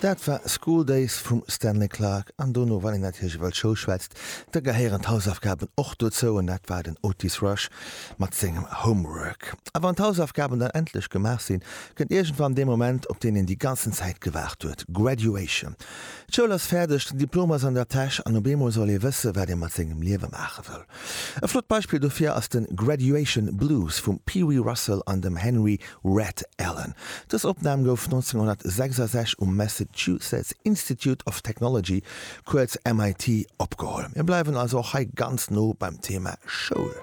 Dat war School Days vum Stanley Clarke. An dono, wann een natierlech iwwer d'Schoul schwätzt, da gehéieren d'Hausaufgaben och dozou. An dat war den Otis Rush mat sengem Homework. A wann d'Hausaufgaben dann endlech gemaach sinn, kënnt iergendwann dee Moment, op deen een déi ganzen Zäit gewaart huet, Graduation. D'Schoul ass fäerdeg, den Diplom ass an der Täsch an op eemol soll ee wësse wat ee mat sengem Liewe maache wëll. E flott Beispill dofir ass de Graduation Blues vum Pee Wee Russell an dem Henry Red Allen. Dës Opnam gouf 1966 um Massachusetts Institute of Technology, kuerz MIT, opgeholl. Mir bleiwen also och hei ganz no beim Thema Schoul.